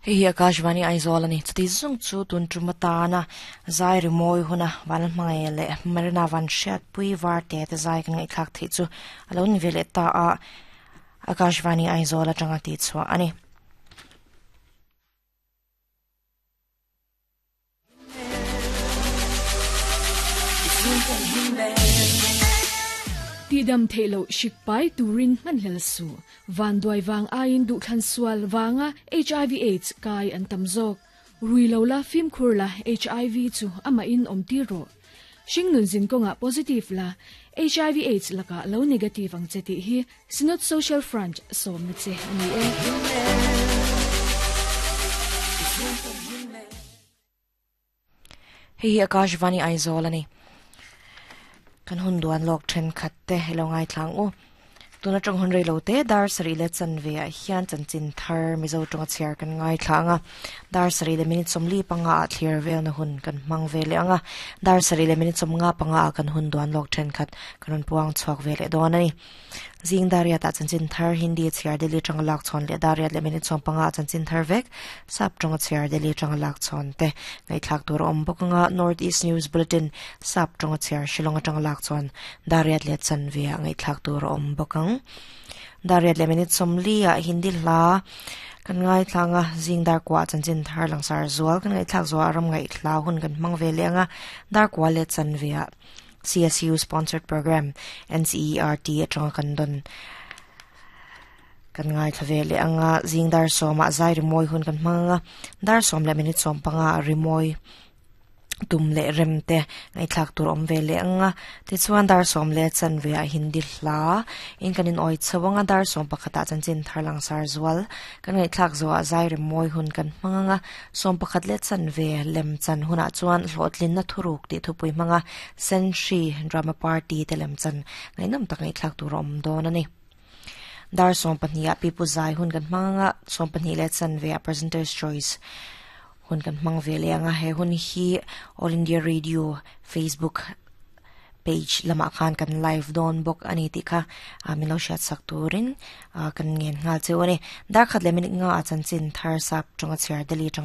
Hei hi Akashvani Aizawl a ni. Chuti zung chu tun tum atana zai rimawi huna van hmangaih leh Marina van hriatpui var te te zai kan ngaihthlak theih chu a lo ni ve leh ta a, Akashvani Aizawl atanga tihchhuah a ni. Tihdam theih loh hrik pai turin hmanhlel suh. Vanduai vang aiin duhthlan sual vanga hiv aids kai an tam zawk. Rui lo la fimkhur la hiv chu amahin awm tir rawh. Hringnun zin kawngah positive la hiv aids lakah lo negative ang che tih hi Synod Social Front sawmna che a ni e. Hei hi Akashvani Aizawl a ni. Kan hun duan lawk thenkhat te i lo ngaithlang u. Tuna tawng hun rei lo te dar sarih leh chanve ah hian chanchin thar Mizo tawnga chhiar kan ngaithla ang a. Dar sarih leh minute sawmli panga ah thlir velna hun kan hmang ve leh ang a. Dar sarih leh minute sawmnga panga ah kan hun duan lawk thenkhat kan rawn puang chhuak ve leh dawn a ni. Zing Dariat ah chanchin thar Hindi chhiar Delhi atanga lak chhawn leh Dariat leh minute 15 ah chanchin thar vek Sap tawnga chhiar Delhi atanga lak chhawn te ngaihthlak tur a awm bawk anga North East News Bulletin Sap tawnga chhiar Shillong atanga lak chhawn Dariat leh chanve ah ngaihthlak tur a awm bawk ang. Dariat leh minute 40 ah Hindi hla kan ngaithla anga zing dar kua ah chanchin thar langsar zual kan ngaihthlak zuah ram ngaihthla hun kan hmang ve leh anga dar kua leh chanve ah CSU sponsored program NCERT atanga kan dawn kan ngaithla ve leh anga zing dar sawmah zai rimawi hun kan hmang anga dar sawm leh minute sawm panga ah rimawi tum leh rem te ngaihthlak tur awm ve leh anga tichuan dar sawm leh chanve ah hindi hla in kan in awi chho anga dar sawm pakhat ah chanchin thar langsar zual kan ngaihthlak zawh ah zai rimawi hun kan hmang anga Sawm pakhat leh chanve lem chan hunah chuan hlawhtlinna thuruk tih thupui hmanga Senhri Drama Party te lem chan ngaihnawm tak ngaihthlak tur a awm dawn a ni. Dar 12 ah Pipu Zai hun kan hmang anga 12 leh chanve ah Presenter's Choice hun kan hmang ve leh anga he hun hi All India Radio Facebook page lamah khan kan live dawn bawk a ni tih kha min lo hriat sak turin kan ngen nghal cheu a ni. Dar khat leh minute nga ah chanchin thar sap tawnga chhiar Delhi atanga.